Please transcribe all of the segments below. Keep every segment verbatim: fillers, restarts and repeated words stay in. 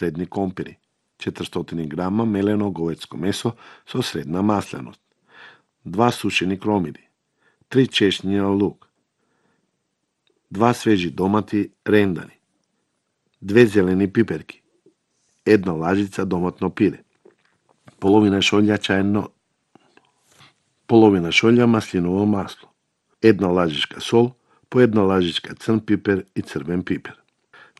средни компири, четиристотини грама мелено говецко месо со средна масленост, два сушени кромиди, три чешњи лук, два свежи домати рендани, две зелени пиперки, една лажица доматно пире, половина шолја чајно, половина шолја маслиново масло, една лажичка сол, по една лажичка црн пипер и црвен пипер.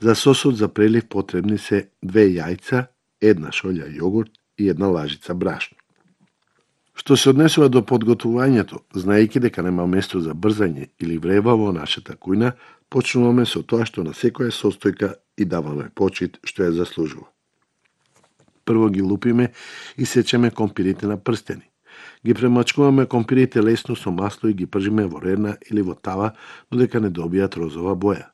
За сосот за прелив потребни се две јајца, една шолја јогурт и една лажица брашно. Што се однесува до подготвувањето, знаејќи дека нема место за брзање или врева во нашата кујна, почнуваме со тоа што на секоја состојка и даваме почит што ја заслужува. Прво ги лупиме и сечеме компирите на прстени. Ги премачкуваме компирите лесно со масло и ги пржиме во рерна или во тава, додека не добијат розова боја.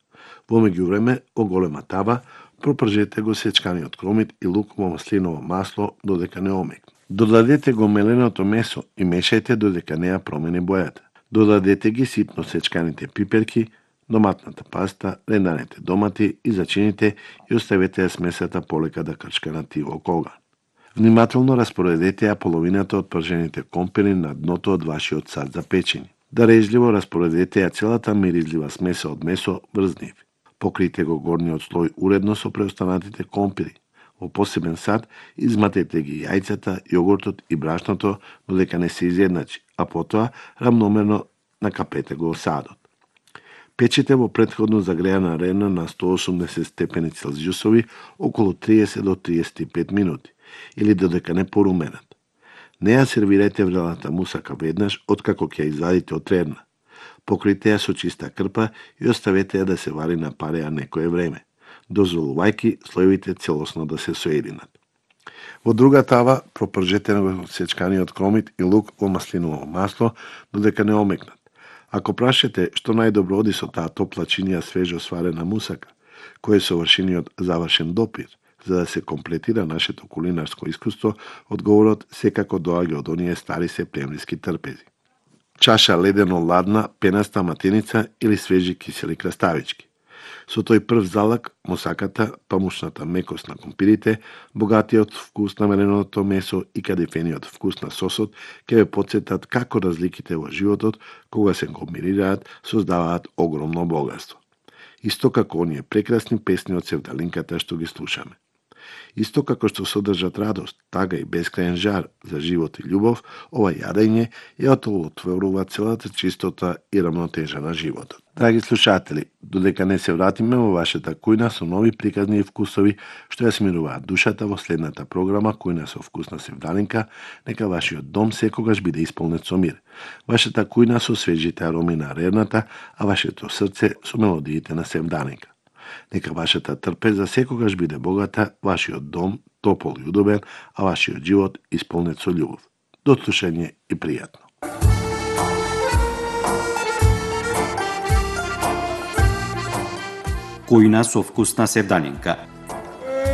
Во меѓувреме, во голема тава, пропржете го сечканиот кромит и лук во маслиново масло додека не омекне. Додадете го меленото месо и мешајте додека не ја промени бојата. Додадете ги ситно сечканите пиперки, доматната паста, ренданите домати и зачините и оставете ја смесата полека да крчка на тивок оган. Внимателно распоредете ја половината од пржените компири на дното од вашиот сад за печење. Дарежливо распоредете ја целата миризлива смеса од месо врз нив. Покрите го горниот слој уредно со преостанатите компири. Во посебен сад изматете ги јајцата, јогуртот и брашното додека не се изедначи, а потоа рамномерно накапете го садот. Печете во претходно загреана рена на сто и осумдесет степени Целзиусови околу триесет до триесет и пет минути или додека не поруменат. Не ја сервирајте врелата мусака веднаш откако ќе ја извадите од рерна. Покрите ја со чиста крпа и оставете ја да се вари на пареа некое време, дозволувајќи слоевите целосно да се соединат. Во друга тава пропржете го сечканиот кромит и лук во маслиново масло додека не омекнат. Ако прашате што најдобро оди со таа топла чинија свежо сварена мусака, кој е совршениот завршен допир, за да се комплетира нашето кулинарско искуство, одговорот секако доаѓа од оние стари септемвриски трпези. Чаша ледено ладна, пенаста матеница или свежи кисели краставички. Со тој прв залак, мусаката, памушната мекост на компирите, богатиот вкус на меленото месо и кадифениот вкус на сосот ќе ве потсетат како разликите во животот, кога се комбинираат, создаваат огромно богатство. Исто како оние прекрасни песни од севдалинката што ги слушаме. Исто како што содржат радост, тага и бескрајен жар за живот и љубов, ова јадење ја отолотворува целата чистота и рамнотежа на животот. Драги слушатели, додека не се вратиме во вашата кујна со нови приказни и вкусови што ја смируваат душата во следната програма Кујна со вкусна севдалинка, нека вашиот дом секогаш биде исполнет со мир. Вашата кујна со свежите ароми на рерната, а вашето срце со мелодиите на севдалинка. Нека вашата трпеза секогаш биде богата, вашиот дом топол и удобен, а вашиот живот исполнет со љубов. До слушање и пријатно. Кујна со вкусна севдалинка.